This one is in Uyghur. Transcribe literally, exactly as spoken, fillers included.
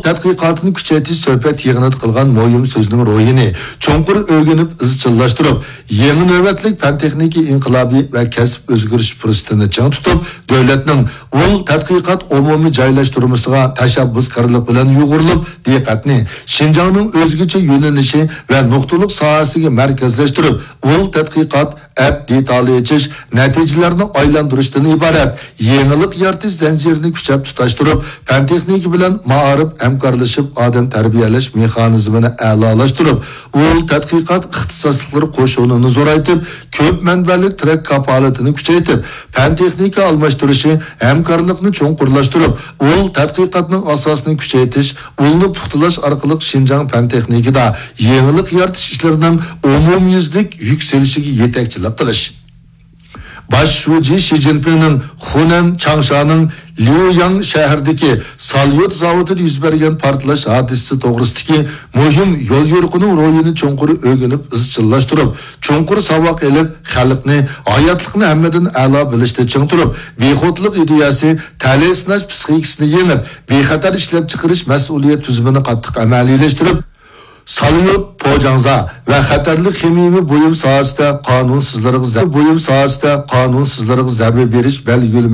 تەتقىقاتىنى كۈچەيتىش سۆھبەت يىغىنىدا قىلغان مۇھىم سۆزنىڭ روھىنى چوڭقۇر ئۆگىنىپ ئىزچىللاشتۇرۇپ، يېڭى نۆۋەتلىك پەن-تېخنىكا ئىنقىلابى ۋە كەسىپ ئۆزگىرىش پۇرسىتىنى چىڭ تۇتۇپ، دۆلەتنىڭ ئۇل تەتقىقات ئومۇمىي جايلاشتۇرمىسىغا تەشەببۇسكارلىق بىلەن يۇغۇرۇلۇپ، دىققەتنى شىنجاڭنىڭ ئۆزگىچە يۆنىلىشى ۋە نۇقتىلىق ساھەسىگە مەركەزلەشتۈرۈپ، ئۇل تەتقىقات ئەپ دېتالى ئېچىش، نەتىجىلەرنى ئايلاندۇرۇشتىن ئىبارەت يېڭىلىق يارىتىش زەنجىرىنى كۈچەپ تۇتاشتۇرۇپ، پەن-تېخنىكا بىلەن مائارىپ ھەمكارلىشىپ ئادەم تەربىيەلەش مېخانىزمىنى ئەلالاشتۇرۇپ، ئۇل تەتقىقات ئىختىساسلىقلىرى قوشۇنىنى زورايتىپ، كۆپ مەنبەلىك تىرەك كاپالىتىنى كۈچەيتىپ، پەن-تېخنىكا ئالماشتۇرۇشى ھەمكارلىقنى چوڭقۇرلاشتۇرۇپ، ئۇل تەتقىقاتنىڭ ئاساسىنى كۈچەيتىش، ئۇلنى پۇختىلاش ئارقىلىق شىنجاڭ پەن-تېخنىكىدا يېڭىلىق يارىتىش ئىشلىرىنىڭ ئومۇميۈزلۈك يۈكسىلىشىگە يېتەكچىلىك قىلىش. باش شۇجى شى جىنپىڭنىڭ خۇنەن چاڭشانىڭ ليۇياڭ شەھىرىدىكى ساليۇت زاۋۇتىدا يۈز بەرگەن پارتلاش ھادىسىسى توغرىسىدىكى مۇھىم يوليورۇقىنىڭ روھىنى چوڭقۇر ئۆگىنىپ ئىزچىللاشتۇرۇپ، چوڭقۇر ساۋاق ئېلىپ، خەلقنى، ھاياتلىقنى ھەممىدىن ئەلا بىلىشتە چىڭ تۇرۇپ، بىخۇدلۇق ئىدىيەسى، تەلەي سىناش پىسخىكىسىنى يېڭىپ، بىخەتەر ئىشلەپچىقىرىش مەسئۇلىيەت تۈزۈمىنى قاتتىق ئەمەلىيلەشتۈرۈپ، ساليۇت پوجاڭزا ۋە خەتەرلىك خىمىيەۋى بۇيۇم ساھەسىدە قانۇنسىزلىرىغا زە-، بۇيۇم ساھەسىدە قانۇنسىزلىرىغا زەربە بېرىش بەلگىلىمە